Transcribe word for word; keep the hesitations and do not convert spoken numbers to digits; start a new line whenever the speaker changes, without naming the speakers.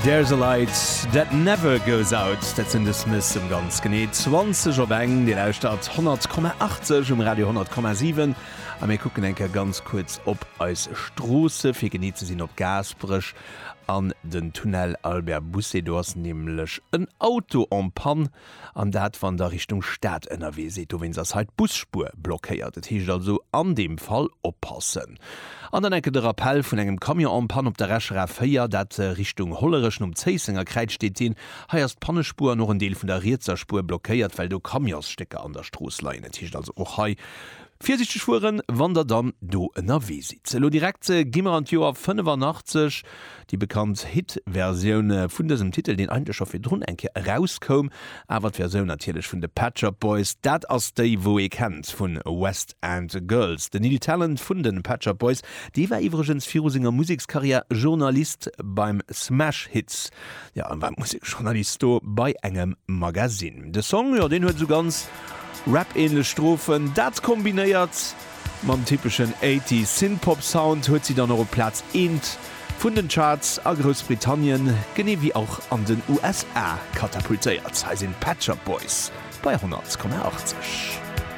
There's a light that never goes out, dat sinn The Smiths um ganz genee zwanzeg op eng. Dir lauschtert honnert Komma achtzeg um Radio honnert Komma siwen a mir kucken eng Kéier ganz kuerz op eis Stroosse fir genee ze sinn op Gaasperech an den Tunnel Albert Bousset. Do ass nämlech en Auto en panne an dat wann der Richtung Stad ënnerwee sidd. Dowéinst ass hei d'Busspuer blockéiert. Et heescht also an deem Fall oppassen. An dann enke de Rappel vun engem Camion en panne op der Escher A véier, dat Richtung Hollerech, nom Zéissenger Kräiz steet deen. Hei ass d'Pannespuer an och en Deel vun der rietser Spuer blockéiert, well do Camionsstécker an der Strooss leien. Et heescht also och hei virsiichteg fueren, wann der dann do ënnerwee sidd. Elo direkt gi mer an d'Joer fënnefanachtzeg, déi bekannt Hit-Versioun vun dësem Titel, deen eigentlech scho virdrun eng Kéier erauskoum, awer d'Versioun natierlech vun de Pet Shop Boys, dat ass déi wou ee kennt vun West End Girls. Den Neil Tennant vun de Pet Shop Boys, dee war iwwregens viru senger Musekskarriär Journalist beim Smash Hits, jo, en war Museksjournalist do bei engem Magasinn. De Song, jo, deen huet esou ganz Rap-ähnlech Strophen, dat kombinéiert mam typeschen Eighties Synthpop Sound huet si dann och op Plaz eent vun den Charts a Groussbritannien, genee wéi och an den U S A katapultéiert. Hei sinn d'Pet Shop Boys bei honnert Komma achtzeg.